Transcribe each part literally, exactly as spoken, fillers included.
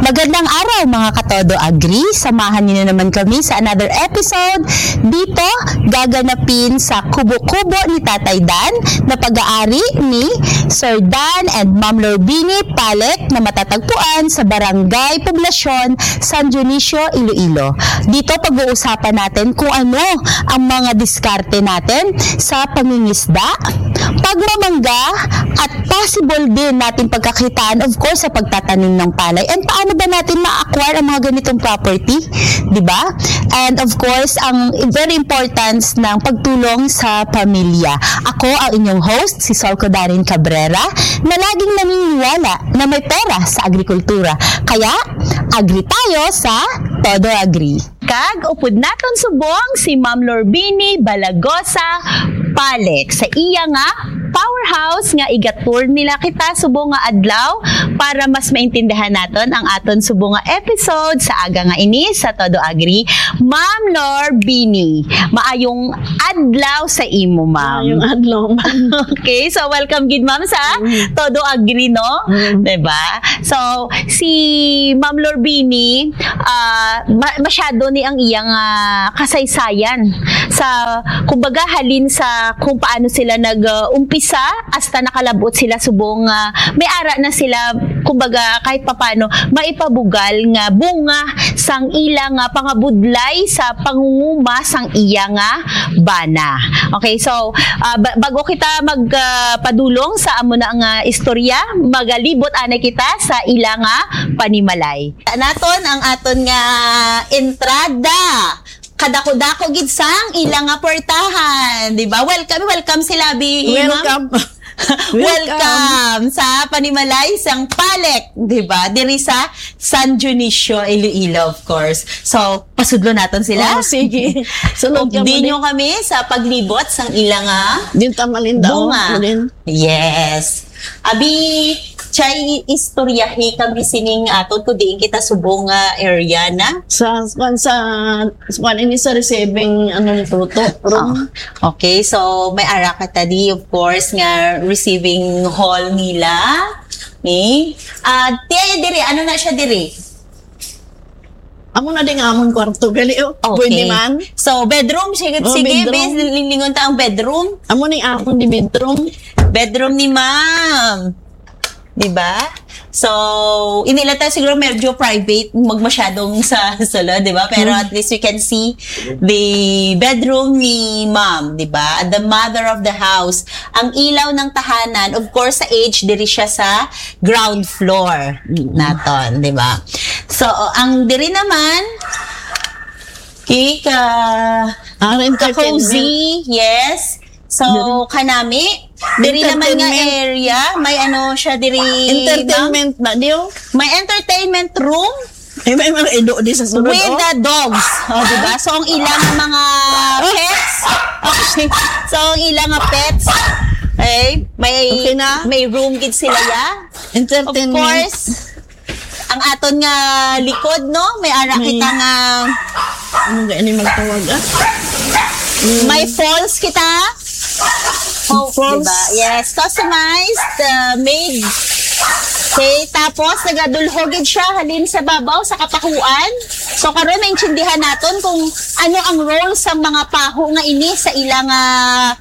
Magandang araw, mga Katodo Agri. Samahan niyo na naman kami sa another episode dito gaganapin sa Kubo-Kubo ni Tatay Dan na pag-aari ni Sir Dan and Ma'am Lorbini Palek na matatagpuan sa Barangay Poblacion, San Dionisio, Iloilo. Dito pag-uusapan natin kung ano ang mga diskarte natin sa pangingisda, pagmamangga, at possible din natin pagkakitaan, of course, sa pagtatanim ng palay. And paano ba natin ma-acquire ang mga ganitong property? Di ba? And of course, ang very importance ng pagtulong sa pamilya. Ako ang inyong host, si Solco Darin Cabrera, na laging naniniwala na may pera sa agrikultura. Kaya, agri tayo sa Todo Agri. Kag upod naton subong si Ma'am Lorbini Balagosa Palek sa iya nga powerhouse nga iga-tour nila kita subong nga adlaw para mas maintindihan naton ang aton subong nga episode sa aga nga ini sa Todo Agri. Ma'am Lorbini, maayong adlaw sa imo, ma'am. Maayong adlaw, ma'am. Okay, so welcome gid, ma'am, sa Mm. Todo Agri, no? Mm. Diba? So, si Ma'am Lorbini, ah, ma-, masyado ni ang iyang, ah, kasaysayan sa, kumbaga, halin sa kung paano sila nag, ah, umpisa hasta nakalabot sila subong, ah, may ara na sila, kumbaga, kahit papano, maipabugal nga bunga sang ila nga pangabudlay sa pangunguma sang iya nga bana. Okay, so, ah, ba-, bago kita mag, ah, padulong sa amo na nga istorya, magalibot anay kita sa ila nga panimalay. Naton ang aton nga entrada. Kadako-dako gid sang ila nga portahan, di ba? Welcome, welcome sila, bi, ma'am. Welcome. Welcome. Welcome sa panimalay sang Palek, di ba? Diri sa San Dionisio, Iloilo, of course. So, pasudlo naton sila. Oh, sige. Sunod ka Updi mo, nyo kami sa paglibot sang ila nga Din ta malindaw, bunga. Din. Yes. Abi, chay istoryahi kami sining aton kung diin kita subong nga area na. Sa, sa, sa, sa, kuwan ini sa receiving, ano, ni Toto, room. Ah, okay, so may ara kita di, of course, nga receiving hall nila. Ni? Ah, tiay diri, ano na siya diri? Amo na din ang amon kwarto, gali, oh. Okay. Pwede man. So, bedroom, sige, Oh, sige, bedroom. Bis, linglingon ta ang bedroom. Amo ni amon di bedroom. Bedroom ni ma'am. Di ba? So, hindi lang tayo siguro medyo private, magmasyadong sa sulod, di ba? Pero Hmm. at least you can see the bedroom ni ma'am, di ba? The mother of the house. Ang ilaw ng tahanan, of course, sa age, diri siya sa ground floor Mm. naton, di ba? So, ang diri naman, okay, ka, Ang ka entertainment. Cozy, yes. So, Diri. Kanami, diri naman nga Entertainment. Area, may ano siya diri, ma'am? Entertainment ba, Dio? May entertainment room. Eh, may mga ido di sa sulod, With oh. The dogs. Oh, di ba? So, ang ilang mga pets. Okay. So, ang ilang mga pets. Okay. May, Okay na? May room gid sila, ya. Entertainment. Of course, ang aton nga likod, no? May ara May kita nga Ano ga ini magtawag, ah? Mm. May falls kita. Oh, Falls. Diba? Yes, customized, uh, made. Okay, tapos nagadulhog gid siya halin sa babaw sa kapahuan. So karon naintindihan naton kung ano ang role sang mga paho nga ini sa ilang, ah,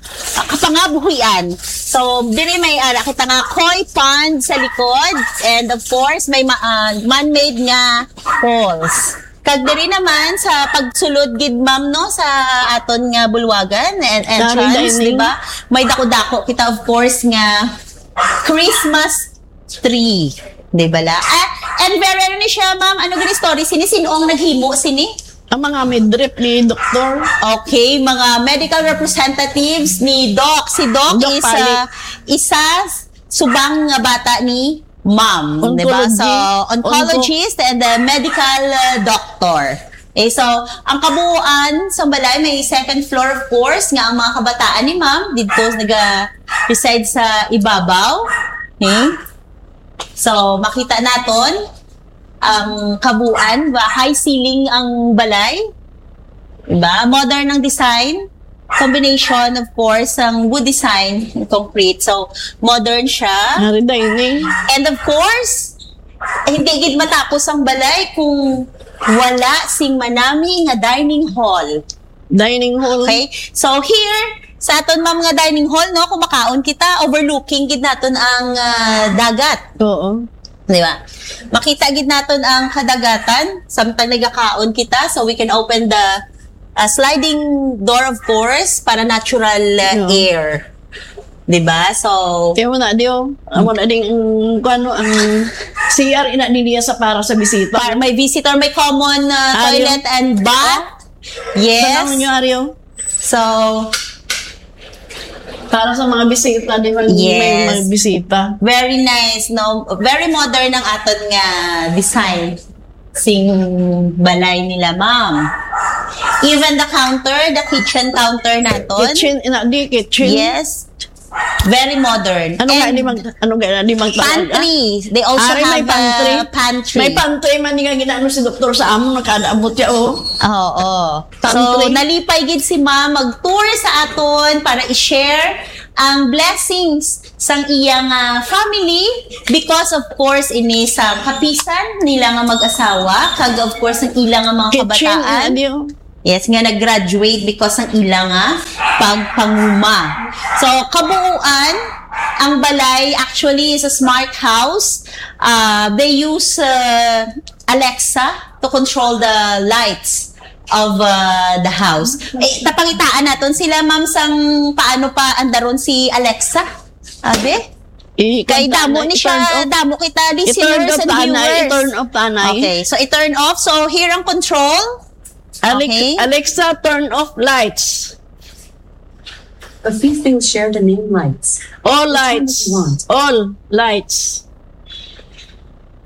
kapangabuhian. So diri may ara kita nga koi pond sa likod, and of course may ma-, ah, man-made nga falls. Kag diri naman sa pagsulod gid, ma'am, no, sa aton nga bulwagan and Dari entrance, dining. Di ba? May dako-dako kita, of course, nga Christmas tree. Di ba la? Ah, and very, ano ni siya, ma'am? Ano gani story? Sini, sino ang naghimo? Sini? Ang mga midrip ni Doktor. Okay, mga medical representatives ni Doc. Si Doc Doc is, Pali. Ah, isa subang nga bata ni ma'am, di ba? Oncology. So, oncologist and the medical, uh, doctor. Eh, so, ang kabuuan sa balay may second floor, of course, nga ang mga kabataan ni ma'am dito naga-reside sa ibabaw. Okay? So, makita naton ang kabuuan, ba, high ceiling ang balay. Diba? Modern ang design. Combination, of course, ang wood design, concrete. So, modern siya. Nari dining. And of course, hindi gid matapos ang balay kung wala sing manami nga dining hall. Dining hall. Okay? So here, sa aton, ma'am, nga dining hall, no, kung makaon kita, overlooking gid naton ang, ah, dagat. Oo. Di ba? Makita gid naton ang kadagatan samtang nagakaon kita, so we can open the, ah, sliding door, of course, para natural, ah, Oo. air. Di ba? So, Kaya mo na, di oh. Amo na ding, ang, kung ano, ang C R ina din niya sa para sa bisita. Para may visitor, may common, ah, Aryo. toilet and bath. Yes. Tanong nyo, Aryo. So, Para sa mga bisita, di ba? Yes. May mga bisita. Very nice, no? Very modern ang aton nga design sing balay nila, ma'am. Even the counter, the kitchen counter naton. Kitchen, ina, di kitchen. Yes. Very modern. Ano nga And di mag-, ano nga di magtawag, ah? pantry. They also Ari, may have pantry. a pantry. May pantry man nga ginano si doktor sa amo, nakadaabot siya, oh. Oo. So, Pantry. nalipay gid si ma'am mag-tour sa aton para i-share ang blessings sang iyang, ah, family because, of course, ini sa kapisan nila nga mag-asawa, kag, of course, ang ila nga mga Kitchen, kabataan. ano yun? Yes, nga nag-graduate because ng ila nga pagpanguma. So, kabuuan, ang balay actually is a smart house. Uh, they use, uh, Alexa to control the lights of, uh, the house. Eh, tapangitaan naton sila, ma'am, sang paano pa andaron si Alexa. Abi? I-, Kay kanta damo na, ni siya, i-turn off. damo kita I-turn listeners off and ta anay, viewers. i-turn off ta anay. Okay, so i-turn off. So, here ang control. Alex-, Okay. Alexa, turn off lights. A few things share the name lights. All Which one do lights. you want? All lights.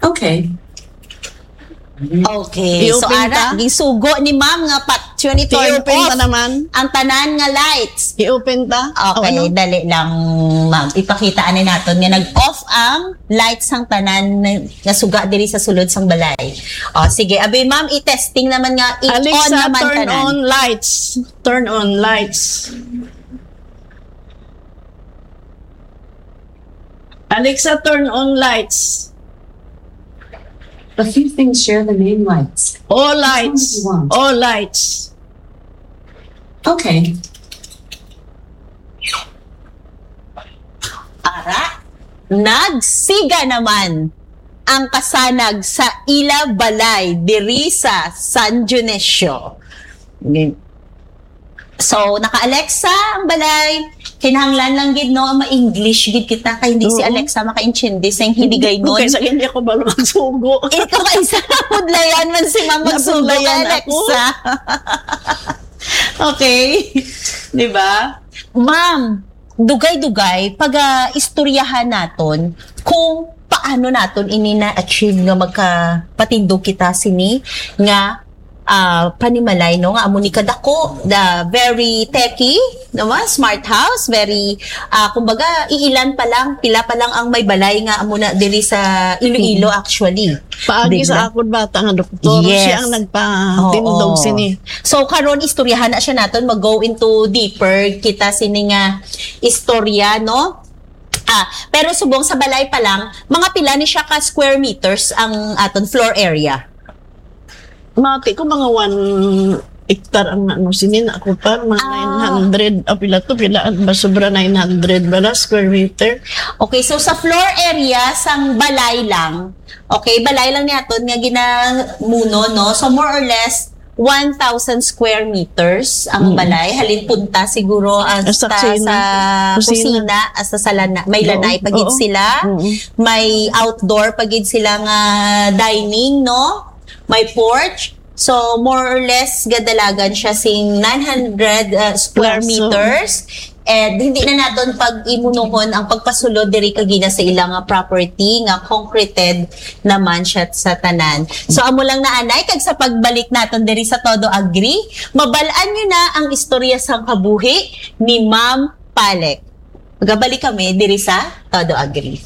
Okay. Okay. So, I-open ara, ta? gisugo ni ma'am nga pa-, actually turn I-open ta off naman? ang tanan nga lights. I-open ta? O, Okay, ano? dali lang, ma'am. Ipakita ani naton nga nag-off ang lights sang tanan nga suga diri sa sulod sang balay. O, sige. Abi, ma'am, i-testing naman nga i-on Alexa, naman turn tanan. on lights. Turn on lights. Alexa, turn on lights. A few things share the name lights. All Which one do lights. you want? All lights. Okay. Ara, nagsiga naman ang kasanag sa ila balay diri sa San Dionisio. So, naka-Alexa ang balay. Kinahanglan lang gid, no, ma-English gid kita kay hindi si Oo. Alexa makaintindi sa Hindi ko, Hiligaynon. kaysa hindi ako balo magsugo. Ikaw kay sa pudlayan man si Ma'am magsugo Napudlayan kay ako. Alexa. Okay. Di ba? Ma'am, dugay-dugay, pag, ah, istoryahan naton kung paano naton ini na-achieve nga magkapatindog kita sini nga, ah, panimalay, no, nga amo ni kadako, the very techy, no, ma? Smart house, very, ah, kumbaga, iilan pa lang, pila pa lang ang may balay nga amo na diri sa Iloilo, Mm. actually. Paagi Di sa ba? akon bata nga doktor, Yes. siya ang nagpatindog Oo. sini. So, karon istoryahan na siya naton, mag-go into deeper kita sini nga istorya, no? Ah, pero subong sa balay pa lang, mga pila ni siya ka square meters ang aton floor area? Mati ko mga one hectare ang ano, sini na ako pa, mga Ah. nine hundred, ah, pila to, pila ba, sobra nine hundred ba na square meter? Okay, so sa floor area sang balay lang, okay, balay lang ni aton nga ginamuno, no? So more or less, one thousand square meters ang Mm. balay. Halin punta siguro hasta Hasta kusina. sa Kusina. kusina, hasta sa lana-, may Oo. lanay pa gid Oo. sila. Mm. May outdoor pa gid sila nga dining, no? May porch. So, more or less, gadalagan siya sing nine hundred, uh, square Plus, oo. meters. And hindi na naton pag-imunuhon ang pagpasulod diri kagina sa ilang, uh, property nga concreted naman siya sa tanan. So, amo lang na, anay, kag sa pagbalik naton diri sa Todo Agri, mabal-an nyo na ang istorya sang kabuhi ni Ma'am Palek. Magabalik kami diri sa Todo Agri.